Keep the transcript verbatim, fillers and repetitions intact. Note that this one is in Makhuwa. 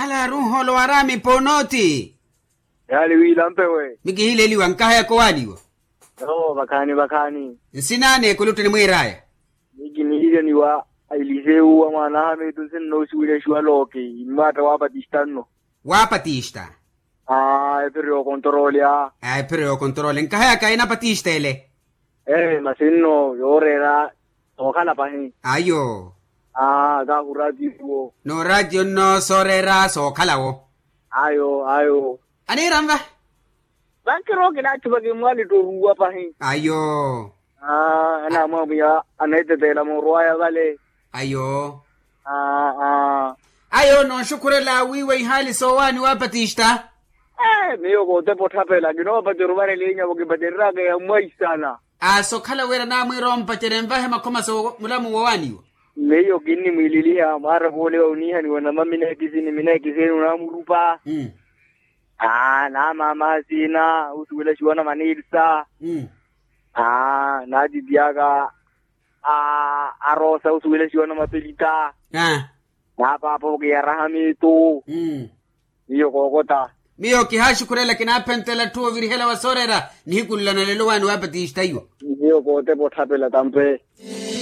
Ala runholo waraami ponooti. Yaali wiilampewe. Mikihileliwa nkahayaka owaaliwa. Yoo vakhaani vakhaani. Nsin'ane ekulutu enimwiir'aya. Mikinihilyaniwa. Ailisewu wa mwaan'aha miitu nsinno osiwilyaxiwa looki. Inmaatta wa patista nno. Wa patista. Aa ephiro yookontoroolya. Aa ephiro yookontoroolya nkahayaka ena patista ele. Ee masi nno yooreera. Sookhala pahi. Ayo. Aa kaahuratiyo. Nooraatiyo nno sooreera sookhalawo. Ayo ayo. Aniira nva. Vankiro kinaatthupa kimmwalittoruwa pahi. Ayo. Aa anaamwamwiya anaeteteela moorwaya vale. Ayo. Aa. Ayo nooxukhurela wiiwa ihaali soowaani wa patista. Ee miyo kootepa otthapela kinoopacerya ovarela enyavo kipacereryaka ya mwaisana. Aa sokhala wira naamwiira ompacerya envahe makhoma so mulamu wowaaniwa. Miyo kinnimwiililiha mwaara voole wa oniihaniwa namamina ekisini mina ekisini onaamurupa. Aa naamaamaha siina osuwelaxiwa na manilsa. Aa naatitiyaka a arosa osuwelaxiwa na mapelita. Aa. Naapaapa okiyaraha miitu. Miyo kookota. Miyo kihaaxukhurela kinaaphentela atthu ovirihela wa sooreera. Nihiku nla na lelo waani wa patista iwo. Miyo kootepa otthapela tampe.